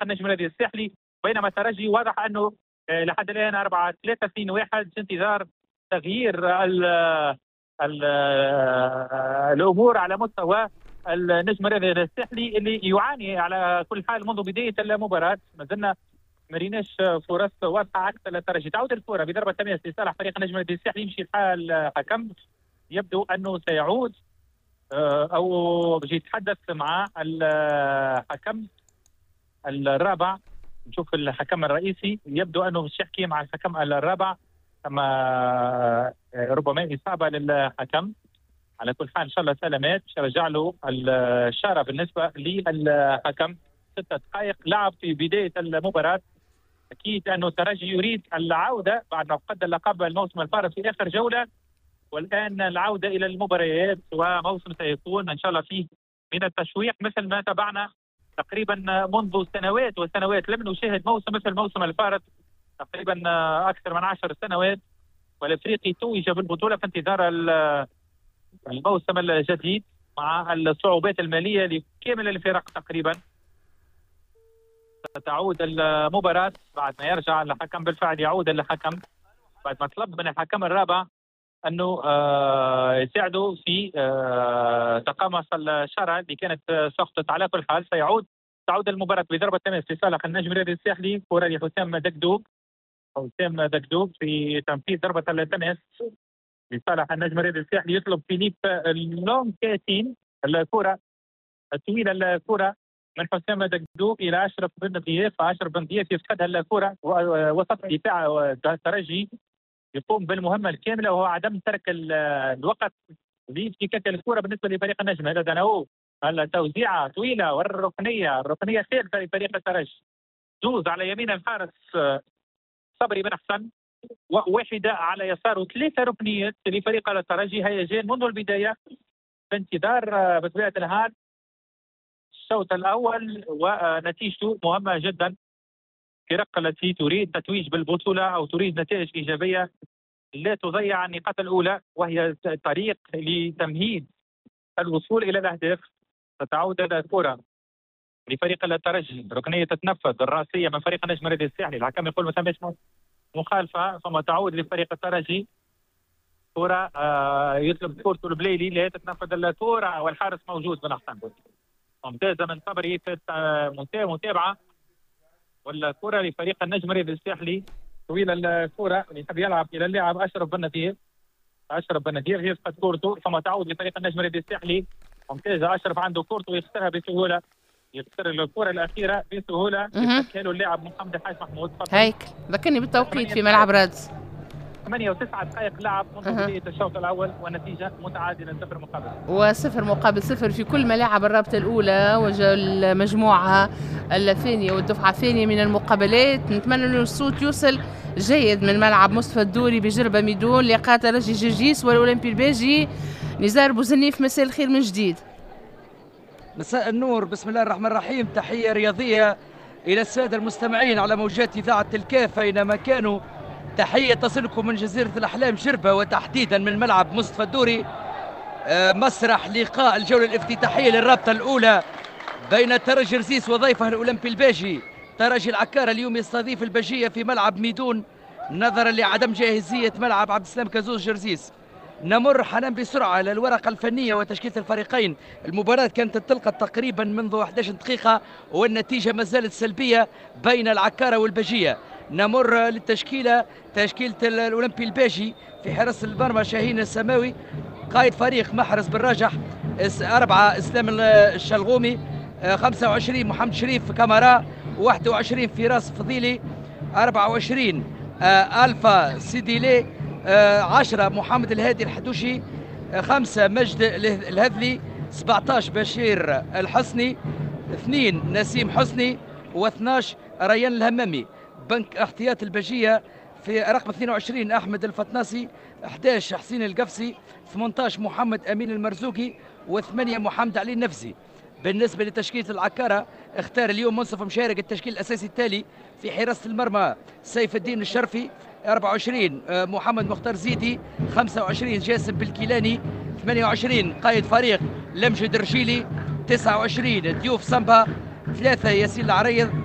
النجم الرياضي الساحلي، بينما الترجي واضح انه لحد الان 4 3 2 1 في انتظار تغيير ال ال الامور على مستوى النجم الرياضي الساحلي اللي يعاني على كل حال منذ بداية المباراة. ما زلنا ما ريناش فرص واضحة عكس الترجي. تعود الكره بضربه تماس لصالح فريق النجم الرياضي الساحلي، يمشي الحال حكم، يبدو انه سيعود او باش يتحدث مع الحكم الرابع. نشوف الحكم الرئيسي يبدو انه باش يحكي مع الحكم الرابع، ثم ربما اصابه للحكم. على كل حال ان شاء الله سلامات، باش يرجع له الشارة بالنسبة للحكم. 6 دقائق لعب في بداية المباراة. اكيد انه الترجي يريد العودة بعد ما فقد اللقب الموسم الفارط في اخر جوله، والان العودة الى المباريات، وموسم سيكون ان شاء الله فيه من التشويق مثل ما تابعنا تقريبا منذ سنوات وسنوات. لم نشاهد موسم مثل الموسم الفارط تقريبا اكثر من 10 سنوات، والافريقي توج بالبطولة في انتظار الموسم الجديد مع الصعوبات المالية لكامل الفرق تقريبا. تعود المباراة بعد ما يرجع الحكم، بالفعل يعود الحكم بعد ما طلب من الحكم الرابع انه يساعده في تقمص الشارة اللي كانت سقطت. على كل حال تعود المباراة بضربة تماس لصالح النجم الرياضي الساحلي. كرة لحسام دقدوق، حسام دقدوق في تنفيذ ضربة التماس لصالح النجم الرياضي الساحلي. يطلب فيليب لونكاتين الكرة الطويلة، الكرة من حسام دقدوق الى اشرف بن ضياف. اشرف بن ضياف يفقدها الكرة، وسط دفاع الترجي يقوم بالمهمه الكاملة وهو عدم ترك الوقت لافتكاك الكره بالنسبة لفريق النجم. هذا داناو، التوزيعه طويلة والركنيه، الركنيه الثالثة لفريق الترجي، زوز على يمين الحارس صبري بن حسن وواحدة على يساره، ثلاثة ركنيات لفريق الترجي. هيجان منذ البداية في انتظار بطبيعة الحال الشوط الاول ونتيجته مهمة جدا. الفرق التي تريد تتويج بالبطولة او تريد نتائج ايجابية لا تضيع النقاط الاولى، وهي طريق لتمهيد الوصول الى الاهداف. ستعود الكره لفريق الترجي، ركنيه تتنفذ الراسية من فريق النجم الرياضي الساحلي. الحكم يقول ما ثماش مخالفه، ثم تعود لفريق الترجي كرة. يطلب كورته البليلي، لا تتنفذ الكرة والحارس موجود بن حسن. ممتازة من صبري في متابعة، والكرة لفريق النجم الرياضي الساحلي. طويلة الكرة اللي يحب يلعب إلى اللاعب أشرف بن نذير. أشرف بن نذير يفقد كورته، ثم تعود لفريق النجم الرياضي الساحلي. ممتازة، أشرف عنده كورته ويخسرها بسهولة، يخسر الكرة الأخيرة بسهولة، يفكها له اللاعب محمد الحاج محمود. هيك ذكرني بالتوقيت في ملعب رادس. 8 و9 دقائق لعب منذ بداية الشوط الأول والنتيجة متعادلة 0 مقابل و0 مقابل 0 في كل ملاعب الرابطة الأولى والمجموعة الثانية والدفعة الثانية من المقابلات. نتمنى أن الصوت يوصل جيد من ملعب مصطفى الدوري بجربة ميدون، لقاء ترجي جرجيس والأولمبي الباجي. نزار بوزنيف، مساء الخير من جديد. مساء النور، بسم الله الرحمن الرحيم. تحية رياضية إلى السادة المستمعين على موجات إذاعة الكاف أينما كانوا. تحية تصلكم من جزيرة الأحلام جربة، وتحديدا من ملعب مصطفى الدوري، مسرح لقاء الجولة الافتتاحية للرابطة الأولى بين ترجي رزيس وضيفه الأولمبي الباجي. ترجي العكارة اليوم يستضيف الباجية في ملعب ميدون نظرا لعدم جاهزية ملعب عبد السلام كازوز جرزيس. نمر حنان بسرعة للورقة الفنية وتشكيلة الفريقين. المباراة كانت انطلقت تقريبا منذ 11 دقيقة والنتيجة ما زالت سلبية بين العكارة والباجية. نمر للتشكيلة، تشكيلة الأولمبي الباجي: في حراسة المرمى شاهين السماوي، قائد فريق محرز بالراجح، 4 إسلام الشلغومي، 25 محمد شريف كامارا، 21 فراس فضيلي، 24 ألفا سيديلي، 10 محمد الهادي الحدوشي، 5 مجد الهذلي، 17 بشير الحسني، 2 نسيم حسني، و12 ريان الهمامي. بنك احتياط البجية: في رقم 22 أحمد الفتناسي، 11 حسين القفصي، 18 محمد أمين المرزوقي، و8 محمد علي النفسي. بالنسبة لتشكيلة العكارة، اختار اليوم منصف مشارك التشكيل الأساسي التالي: في حراسة المرمى سيف الدين الشرفي، 24 محمد مختار زيدي، 25 جاسم بالكيلاني، 28 قائد فريق لمجد الرشيلي، 29 ديوف سامبا، 3 ياسين العريض.